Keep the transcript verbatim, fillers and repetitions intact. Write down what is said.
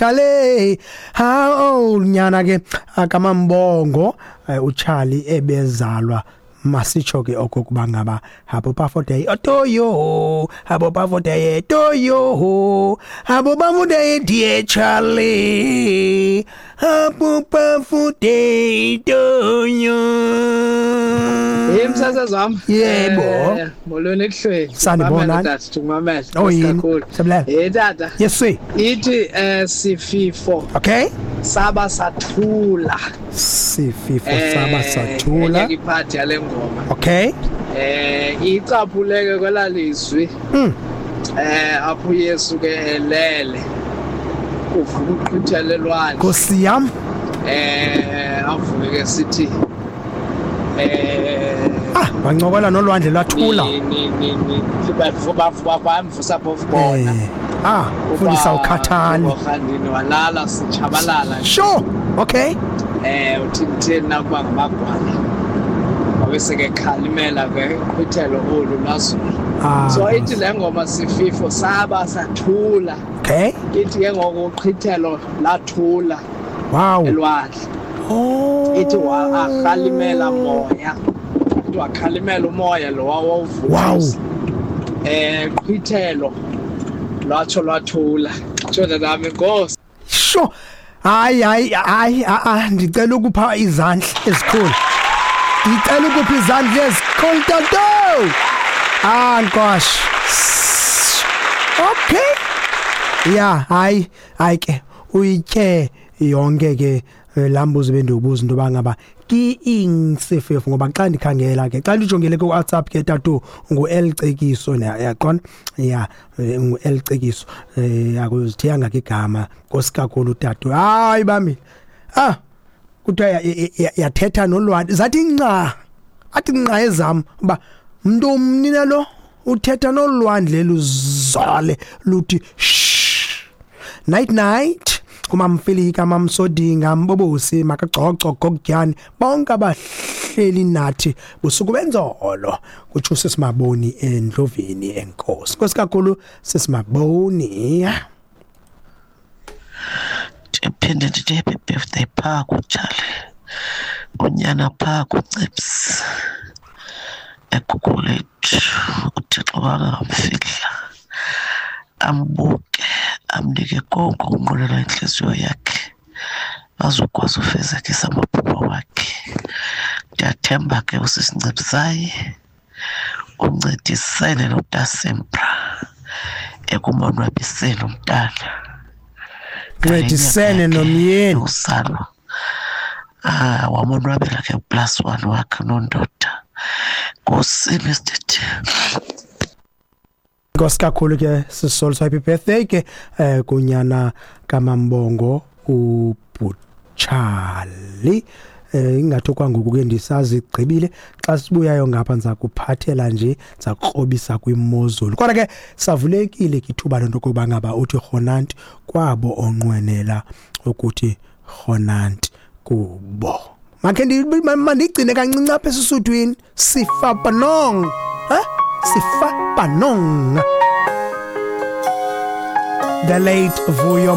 Charlie, how old nyana ke akaMambongo uCharlie ebezalwa? Masitsho ke okokuba ngaba happy birthday to you, happy birthday to you, happy birthday, dear Charlie, happy birthday to you. Hey, msasazi wami. Yebo. Eh, molweni ekuhlweni. Sanibonani. Tata, ndikumamele. Oh, yini? Kakhulu. Siyabulela. Eh, tata. Yes sir. Ithi eh sififo Okay. saba sathula. Sififo saba sathula. Enye iphathi yale ngoma. Okay. Eh icaphuleke kwelalizwi. Mm. Eh apho Yesu ke elele. Kuvuka uqhithele elwandle. Nkosi yam. Eh avuke ke sithi eh Ah, bancokola nolwandle lwathula. Ni ni ni ni bamvusa phofu bona. Eh, ah, fundisa ukhathani. Ukhandini walala sichabalala. Sure. Okay. Eh uthi kutheni nakuba ngamagwala. Wabe sekekhalimela ke uqhithelo olu lwazulu. Ah. So ithi le ngoma sififo saba sathula. Okay. Ithi ke ngoku uqhithelo lathula Wow. elwandle. Oh. Ithi wa akhalimela moya. Ithi wakhalimela umoya lo wawuvuka. Wow. Eh qhithelo lwatsho lwathula. Tsho nami Nkosi. Sure. Hayi hayi hayi a ndicela ukupha izandla ezikhulu. Ndicela ukupha izandla ezikhulu, tato. Ah, Nkosi. Okay. Yeah, hayi hayi ke uyitye yonke ke lambuzo bendibuza into bangaba ki insififo, ngoba xa ndikhangela ke xa ndijongele ku WhatsApp ke tatu ngu L Cekiso, yaqona ya ngu L Cekiso, eh akuzithiyanga ke igama, Nkosi kakhulu tatu. Hayi bami, ah kuthiwa yathetha nolwandle zathi nca, athi nca ezam uba mntu mnina lo uthetha nolwandle luzale luthi shh. Night night kumamfilika, mamsodinga, mbobosi, makagcoco, gokutyani, bonke abahleli nathi busuku benzolo, kutsho sesimaboni endlovini. Enkosi, Nkosi kakhulu sesimaboni. Ndiphinde ndithi happy birthday phaa kuTshali, unyana phaa kuNcipsi eGugulethu. UThixo bangamfihla, ambuke, amnike konke okunqwenela intliziyo yakhe, azokwazi ufezekisa amaphupha wakhe. Ndiyathemba ke usisincipsayi uncedisene noTasempra ekumonwabiseni umntana. Ncedisene nomyeni. Usalo ah wamonwabela ke plus one wakhe nondoda. Nkosi Mister T. Nkosi kakhulu ke sisolo, happy birthday ke eh kunyana kaMambongo uButshali. Eh ingathi kwangoku ke ndisazigqibile, xa sibuyayo ngapha ndiza kuphathela nje, ndiza kukrobisa kwimozulu. Kodwa ke savulekile ke ithuba lento kokuba ngaba uthi rhonanti kwabo onqwenela ukuthi rhonanti kubo. Makhe mandigcine kancinci apha eSuthwini. Sifa panong, ha Sifa panong, the late Vuyo.